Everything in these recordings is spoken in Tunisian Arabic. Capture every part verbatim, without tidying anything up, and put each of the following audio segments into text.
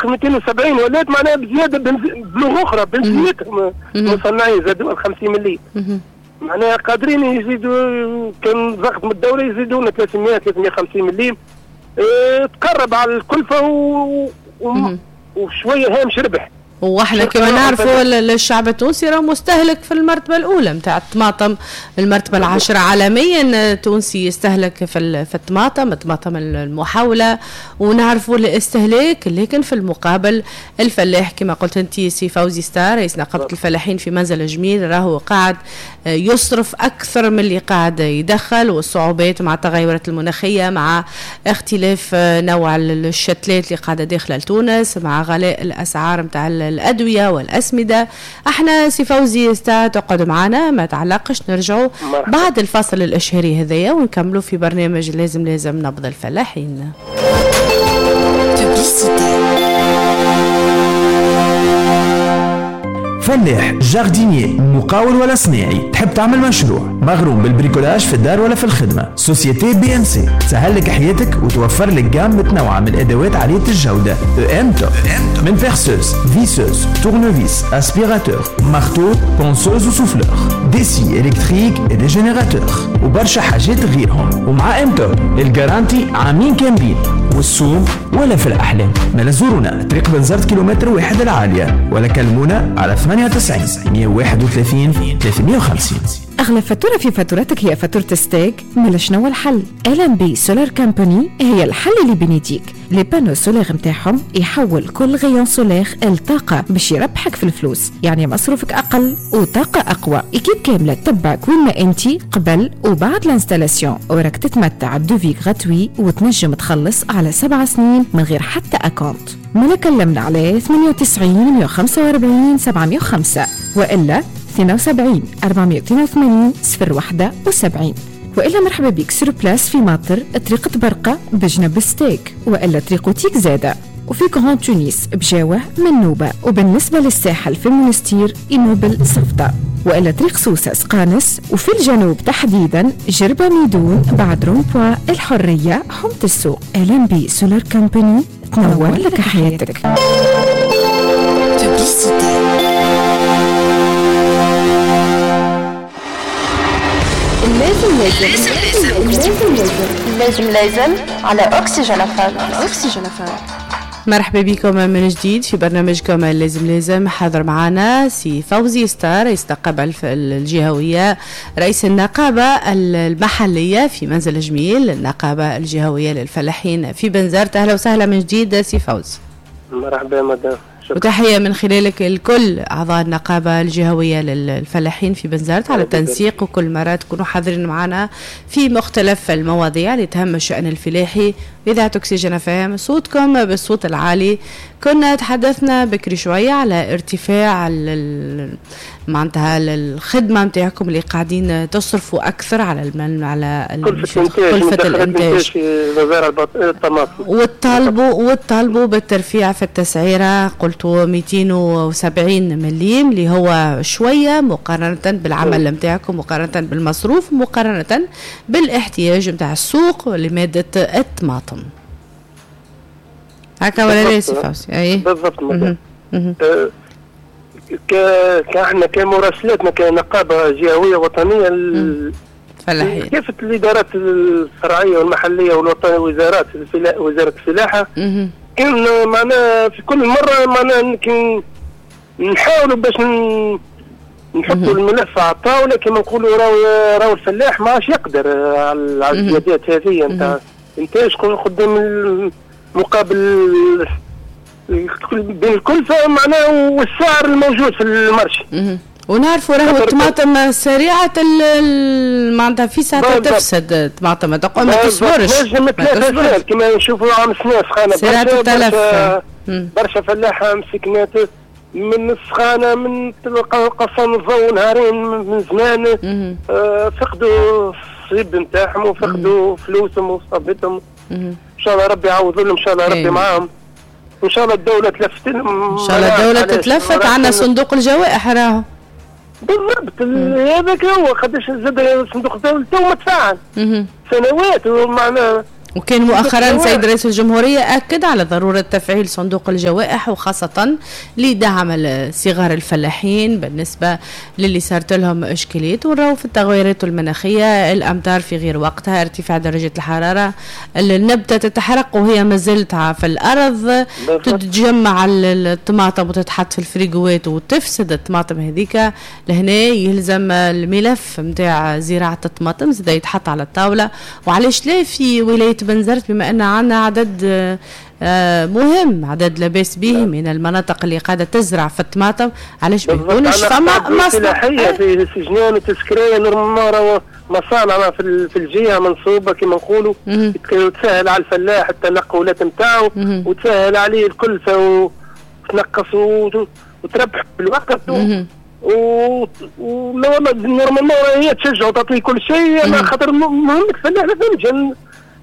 مئتين وسبعين ولات معناها بزيادة بلغه اخرى بنزيتهم المصنعين زادوا خمسين مليم. معناها قادرين يزيدوا كان ضغط من الدولة يزيدونا ثلاثمية ثلاثمية وخمسين مليم. اه تقرب على الكلفة و... و... وشوية هامش ربح. واحنا كما نعرفوا الشعب التونسي راه مستهلك في المرتبة الاولى نتاع الطماطم، المرتبة العاشرة عالميا التونسي يستهلك في في الطماطم، الطماطم المحوله، ونعرفوا الاستهلاك. لكن في المقابل الفلاح كما قلت انت سي فوزي ستار رئيس نقابة الفلاحين في منزل جميل راهو قاعد يصرف اكثر من اللي قاعد يدخل، والصعوبات مع التغيرات المناخية، مع اختلاف نوع الشتلات اللي قاعدة داخله لتونس، مع غلاء الاسعار نتاع الأدوية والأسمدة. احنا سي فوزي ستا تقعد معنا ما تعلقش، نرجعوا بعد الفصل الإشهاري هذايا ونكملوا في برنامج لازم لازم نبض الفلاحين. فلاح، jardinier، مقاول ولا صناعي، تحب تعمل مشروع، مغروم بال bricolage في الدار ولا في الخدمة، société BMC تسهل لك حياتك وتوفر لك gamme متنوعة من الأدوات عالية الجودة. ام توب من perceuse، visseuse، tournevis، aspirateur، marteau، ponceuse و souffleur، des scies électriques et des générateurs وبرشا حاجات غيرهم. ومع ام توب ال garantie عامين كاملين والسوم ولا في الأحلام. ما زورونا طريق بنزرت كيلومتر واحد العالية، ولا كلمونا على ثمانية وتسعين مية وواحد وثلاثين ثلاثمية وخمسين. أغلى فاتورة في فاتورتك هي فاتورة ستاج. مالا شنو الحل؟ ال ام بي Solar Company هي الحل اللي بين يديك. les panneaux solaires نتاعهم يحول كل rayon solaire لطاقة باش يربحك في الفلوس، يعني مصروفك أقل وطاقة أقوى. équipe كاملة تتبعك وين ما أنت قبل وبعد l'installation، وراك تتمتع ب devis gratuit وتنجم تخلص على سبع سنين من غير حتى acompte. مالا كلمنا على ثمانية وتسعين مية وخمسة وأربعين سبعمية وخمسة وإلا اثنين وسبعين أربعمية واثنين وثمانين صفر واحد وسبعين، وإلا مرحبا بك sur place في ماطر طريقة برقة بجنب ستيك، وإلا طريق تيك زادة، وفي Grand Tunis بجاوة منوبة، وبالنسبة للساحل في المونستير immeuble صفدة، وإلا طريق سوسة سقانس، وفي الجنوب تحديدا جربة ميدون بعد rond-point الحرية حمة السوق. ال ام بي Solar Company تنور لك حياتك. لازم لازم لازم لازم لازم على أكسجين أفام. أكسجين أفام. مرحبا بكم من جديد في برنامجكم لازم لازم. حاضر معنا سي فوزي ستار رئيس النقابة الجهوية، رئيس النقابة المحلية في منزل جميل، النقابة الجهوية للفلاحين في بنزرت. أهلا وسهلا من جديد سي فوز. مرحبا مدام. وتحية من خلالك الكل أعضاء النقابة الجهوية للفلاحين في بنزرت على التنسيق، وكل مرة تكونوا حاضرين معنا في مختلف المواضيع اللي تهم الشأن الفلاحي. إذاعة أكسجين أف إم صوتكم بالصوت العالي. كنا تحدثنا بكري شوية على ارتفاع معناتها الخدمة نتاعكم اللي قاعدين تصرفوا أكثر على المن على كلفة الإنتاج وتطالبوا وتطالبوا بالترفيع في التسعيرة. قلتوا مئتين وسبعين مليم اللي هو شوية مقارنة بالعمل نتاعكم، مقارنة بالمصروف، مقارنة بالاحتياج نتاع السوق لمادة الطماطم. هكا ولا لا سي فوزي؟ أي بالضبط. أه كاحنا كمراسلاتنا كنقابة جهوية وطنية فلاحية كافة الإدارات الفرعية والمحلية والوطنية وزارات الفلا... وزارة الفلاحة كان معنا في كل مرة معنا نحاولوا باش نحطوا الملف على الطاولة كما نقولوا راهو راهو الفلاح ما عادش يقدر على الزيادات هذه نتاع انتاج قدام مقابل بين الكلفة معناه والسعر الموجود في ال marché. ونعرفوا راهو الطماطم سريعة معناتها في ساعة تفسد الطماطم، ما تصبرش. نجم ثلاثة كما نشوفوا عام سنة سخانة سريعة التلف، برشا فلاحة مسكنات من السخانة، من قصان الضوء نهارين من زمان، آه فقدوا الصيب نتاعهم وفقدوا فلوسهم وصابتهم. إن شاء الله ربي يعوض لهم، إن شاء الله ربي معاهم، إن شاء الله الدولة تلفت لهم، إن شاء الله الدولة تتلفت. عندنا صندوق الجوائح راهو بالضبط هذاك هو قداش زاد صندوق الدولة تو ما تفاعل سنوات ومعناها. وكان مؤخرا سيد رئيس الجمهورية أكد على ضرورة تفعيل صندوق الجوائح، وخاصة لدعم صغار الفلاحين بالنسبة للي صارت لهم إشكاليات، ونراو في التغيرات المناخية، الأمطار في غير وقتها، ارتفاع درجة الحرارة، النبتة تتحرق وهي ما زالت في الأرض، تتجمع الطماطم وتتحط في الفريقوات وتفسد الطماطم هذيك. لهنا يلزم الملف متاع زراعة الطماطم زاد يتحط على الطاولة. وعلاش لا في ولاية بنزرت، بما أن عندنا عدد مهم، عدد لاباس به من المناطق اللي قاعدة تزرع في الطماطم، علاش ما يكونش فما مصنع في سجنان وتسكريه normalement مصانع في الجهة منصوبه كما نقولوا، تسهل على الفلاح التنقلات نتاعو وتسهل عليه الكلفة وتنقص وتربح بالوقت و normalement هي تشجع وتعطيه كل شيء، خاطر مهم الفلاح ما فهمتش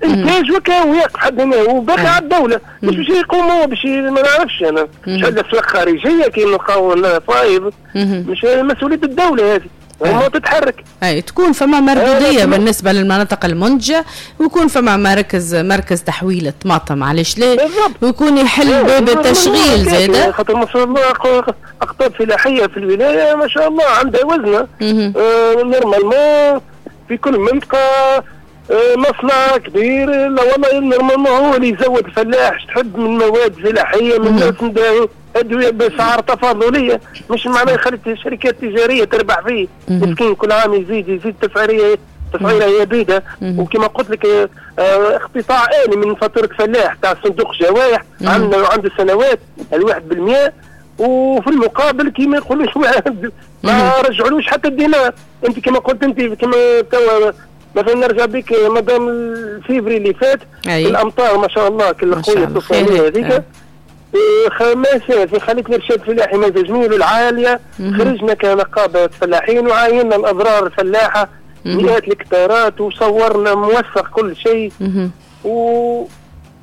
انتاج وكا ويقف حد هنا وباقي على الدولة، مش باش يقوموا باش ما نعرفش انا مش عندنا اسواق خارجية كي نلقاو فايض، مش مسؤولية الدولة هذه وما تتحرك. اي تكون فما مردوديه بالنسبة للمناطق المنتجة، ويكون فما مركز مركز تحويل الطماطم، علاش لا، ويكون يحل باب التشغيل زاده، خاطر ما شاء الله اقطاب فلاحية في الولاية ما شاء الله عندها وزنه. آه normalement في كل منطقة مصنع كبير، لا والله normalement هو اللي يزود الفلاح تحب من مواد فلاحية من ادوية باسعار تفاضليه، مش معناه يخلي الشركات التجارية تربح فيه مسكين كل عام يزيد يزيد تسعيريه تسعيره هي بيده. وكما قلت لك اه اقتطاع آلي من فاتورة فلاح تاع صندوق جوائح عندنا عنده سنوات الواحد بالمئة، وفي المقابل كما يقولوش ما رجعولوش حتى الدينار. انت كما قلت انت كما توا مثلا نرجع بك مدام الفيفري اللي فات أي. الامطار ما شاء الله كل قوية الطوفانيه هذيك خماسه في خلية الارشاد الفلاحي مزاج جميل العالية، خرجنا كنقابه فلاحين وعاينا الاضرار الفلاحة مئات الهكتارات وصورنا موثق كل شيء و...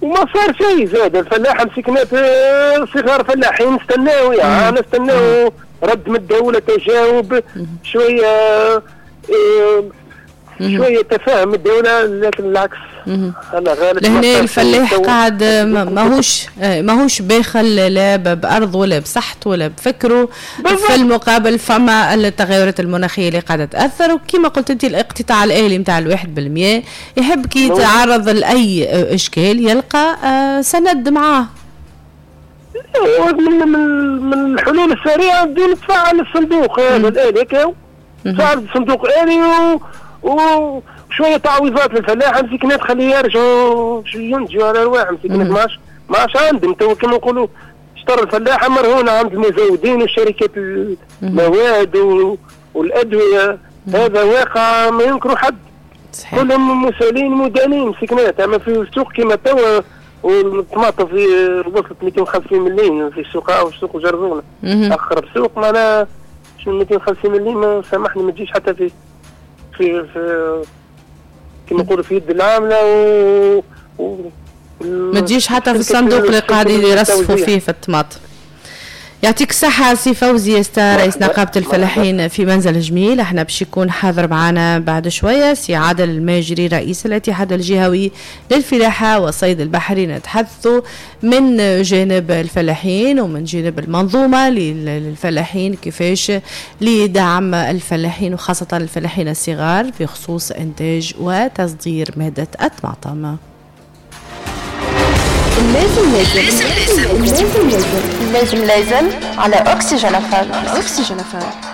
وما صار شيء. زاد الفلاحة مسكنات صغار فلاحين استناو يعني استناو رد من الدولة، تجاوب شوية إيه شوية تفاهم الدولة، لكن العكس انا غالب. لهنا الفلاح قاعد ماهوش ماهوش باخل لا بارضه ولا بصحته ولا بفكره. في المقابل فما التغيرات المناخية اللي قاعدة تاثر، وكما قلت انت الاقتطاع الالي نتاع الواحد بالمية يحب كي يتعرض لاي اشكال يلقى سند معاه. من من الحلول السريعة بدون تفعل الصندوق هذا الالي، تفعل الصندوق الالي وشوية تعويضات للفلاح مسكينات خليه يرجعوا ينتجوا على رواحهم مسكينات ما عادش ما عادش عندهم تو كما نقولوا اشترى الفلاحة مرهونه عند المزودين وشركات المواد والادوية. هذا واقع ما ينكروا حد، كلهم مسؤولين مدانين مسكينات. اما في السوق كما توا والطماطم في وصلت مئتين وخمسين مليون في السوق او سوق جرزونه اقرب سوق، معناها مئتين وخمسين مليون سامحني ما تجيش حتى في في في كما نقولوا في يد العاملة و, و... ما تجيش حتى في الصندوق اللي قاعدين يرصفوا فيه في الطماطم. يعطيك الصحة سي فوزي يستا رئيس نقابة الفلاحين في منزل جميل. احنا باش يكون حاضر معنا بعد شوية سي عادل الماجري رئيس الاتحاد الجهوي للفلاحة والصيد البحري، نتحدثوا من جانب الفلاحين ومن جانب المنظومة للفلاحين كيفاش لدعم الفلاحين وخاصة الفلاحين الصغار في خصوص إنتاج وتصدير مادة الطماطم. لازم لازم لازم لازم لازم لازم على أكسجين أف أم. أكسجين أف أم.